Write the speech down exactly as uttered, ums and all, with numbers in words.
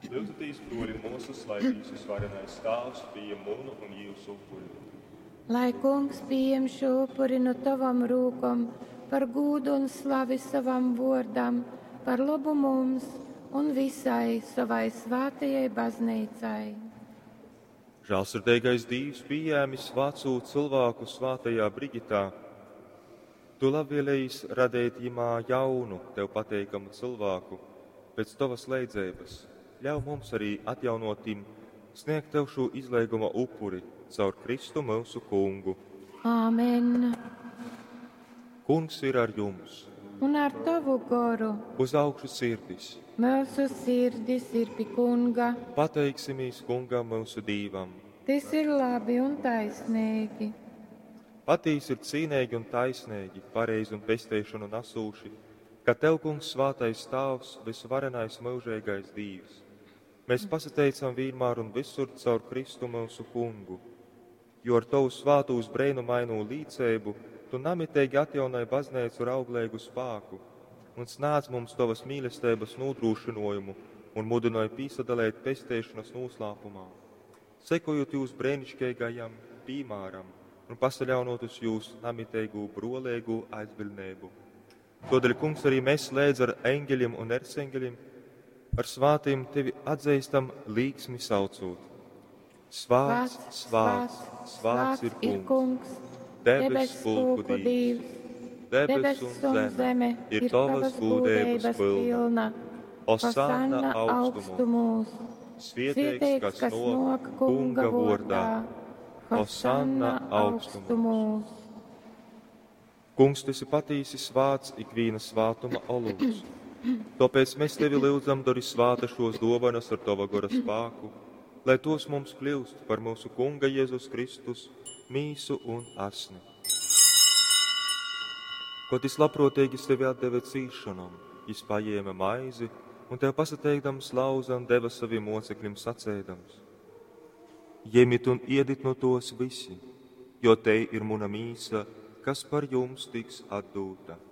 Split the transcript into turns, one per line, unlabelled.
Lyudzaties, bruoļi un muosys, lai Dīvs Vysvarenais Tāvs pījem munu un jiusu upuri.
Lai Kungs pījem šū upuri nu tovom rūkom par gūdu un slavi sovam vuordam, par lobu mums un visai sovai svātajai bazneicai.
Žālsirdeigais Dīvs pījēmis vacū cilvēku svātajā Brigitā, tu labvēlējis radeit jimā jaunu, tev pateikamu cilvēku pēc tovas leidzeibas. Ļauj mums arī atjaunotim sniegt tev šo izleiguma upuri caur Kristu mūsu kungu.
Āmen.
Kungs ir ar jums.
Un ar tavu goru.
Uz augšu sirdis.
Mūsu sirdis ir pie kunga.
Pateiksimies kungam mūsu Dīvam.
Tas ir labi un taisnīgi.
Patīsi ir cīnīgi un taisnīgi, pareizi un pesteišanu nesūši, ka tev, kungs, svātais Tāvs, visvarenais mūžīgais Dīvs. Mēs pasateicam vienmēr un visur caur Kristu mūsu kungu, jo ar tavu svātūs brēnumaino līdzēbu tu namitīgi atjaunai baznīcu ar auglīgu spāku un snāc mums tavas mīlestības nodrošinājumu un mudināja pīsadalēt pesteišanas noslēpumā, sekojot jūs brēnišķīgajam piemēram un pasaļaunot uz jūsu namitīgu brolīgu aizbildnību. Todēļ, kungs, arī mēs lēdz ar eņģeļiem un erceņģeļiem, ar svātiem tevi atzīstam līksmi saucot. Svāts, svāts, svāts ir kungs,
kungs,
debes pulku Dīvs. Debes un zeme ir tavas gūdības pilna. Osanna augstumos, svietēks, kas nāk kunga vordā. Hosanna augstumos. Kungs, tu esi patīsi svāts ikvīna svātuma olūts. Tāpēc mēs tevi lūdzam, dari svāta šos dovanas ar tava gora spāku, lai tos mums kļūst par mūsu Kunga Jēzus Kristus mīsu un asni. Ko tis labprātīgi sevi atdeva cīšanam, jis paņēma maizi un tev pasateikdams lauza un deva saviem mocekļiem sacēdams. Ņemiet un iedit no tos visi, jo te ir muna mīsa, kas par jums tiks atdūta.